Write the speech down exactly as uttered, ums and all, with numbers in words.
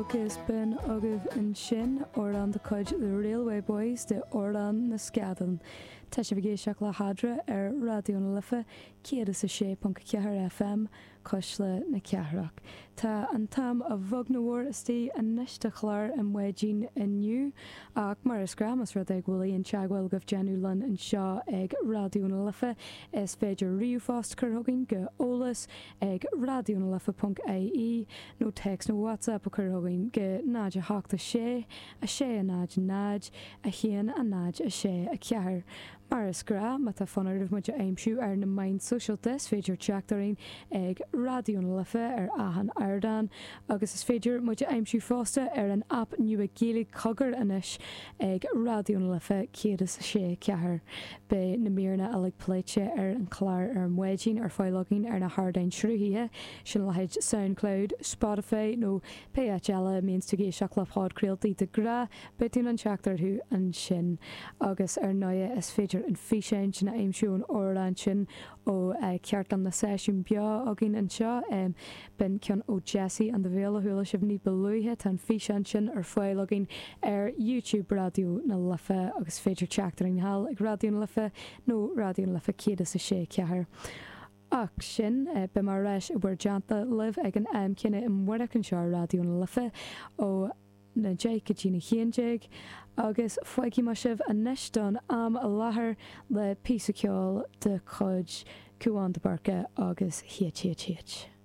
Agus b'in agaibh ansin amhrán de chuid The Railway Boys de Amhrán na Scadán. Tá sibh ag éisteacht le hEadra ar Raidió na Life céad is a sé ponc ceathair FM Cuisle na Cathrach. Tá an t-am a bheag nó a mhór istigh anois do chlár an maidin inniu ach mar is gnách más rud é go bhfuil aon teagmháil agaibh déanamh linn anseo ag Raidió na Life is féidir ríomhphost a chur chugainn go eolas ag raidionalife.ie nó text nó WhatsApp a chur chugainn go náid a hocht a sé a sé a náid náid a haon a náid a sé a ceathair. Mar is gnách má tá fonn oraibh muid a aimsiú ar na meáin sóisialta is féidir teacht orainn ag Raidió na Life ar achan ardán agus is féidir muid a aimsiú fosta ar an aip nua Gaeilge Cogar anois ag Raidió na Life céad is a sé ceathair. Beidh na míreanna uilig pléite ar an chlár ar maidin ar fáil againn ar na hardáin sruthaithe sin leithéid SoundCloud, Spotify nó pé áit eile a mbíonns tú ag éisteacht le podchraoltaí de ghnáth, beidh tú in ann teacht orthu ansin agus ar ndóigh is féidir an físeán sin a aimsiú an amhrán sin ó cheardlann na seisiún beo againn anseo b'in ceann ó Jesse and the Veil a chuala sibh ní ba luaithe tá an físeán sin ar fáil againn ar YouTube Raidió na Life agus féidir teacht orainn thall ag Raidió na Life nó Raidió na Life céad is a sé ceathair. Ach sin beidh mé ar ais i bhur dteannta libh ag an am céanna amárach anseo ar Raidió na Life ó na deich go dtí na haon déag, agus fágfaidh mé sibh anois don am i láthair le píosa ceoil de chuid Cúán de Burca agus HHH.